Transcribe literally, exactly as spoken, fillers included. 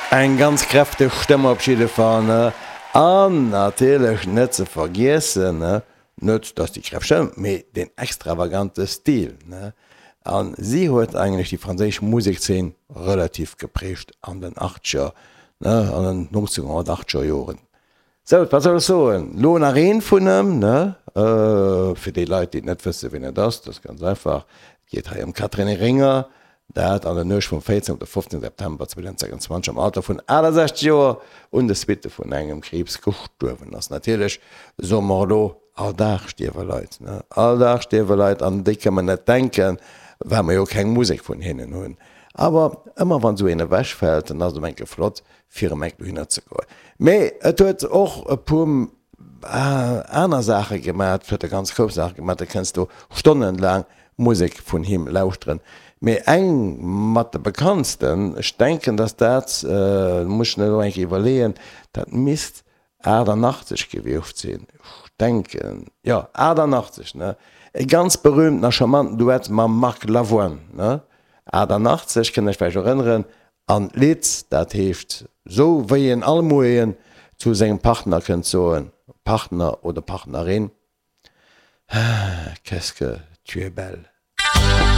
Eng ganz kräfteg Stëmm op jidde Fall, ne? An natierlech net ze vergiessen, ne, net dass déi kräfteg Stëmm, mee deen extravagante Stil, ne? A si huet eigentlech déi franséisch Musekszeen relativ geprägt an den Achtzeger, ne, an den nonzénhonnertachtzeger Joren. Sou, wat soll ech soen? Lo nach een vun em, ne? Fir déi Leit, déi net wëssen, wien et ass, dat ass ganz einfach, et geet hei ëm d'Catherine Ringer, dat an der Nuecht vum véierzéngten op de fofzéngten September zweedausendsechsundzwanzeg am Alter vun achtesechzeg Joer un de Suitte vun engem Kriibs gestuerwen ass. Natierlech soe mer elo, all Dag stierwe Leit, ne? All Dag stierwe Leit, an déi kënne mer net denken, well mer jo keng Musek vun hinnen hunn. Awer ëmmer wann esou een ewechfält, dann ass et ëm enke flott, fir ëm enk dohinner ze goen. Mee et huet och e puer aner Saache gemaat, et huet e ganz grouss Saache gemaat, da kënns du stonnenlaang Musek vun him lauschteren. Mee eng mat de bekanntsten, ech denken dass dat, muss ech mir elo eng Kéier iwwerleeën, dat misst achtannachtzeg gewiescht sinn, ech denken, jo achtannachtzeg, ne, e ganz berühmten a charmanten Duett mam Marc Lavoine, ne, achtannachtzeg, kënnt Iech vläicht erënneren an d'Lidd, dat heescht sou wéi een all Moien zu sengem Partner kënnt soen, Partner oder Partnerin, Ah, qu'est-ce que tu es belle.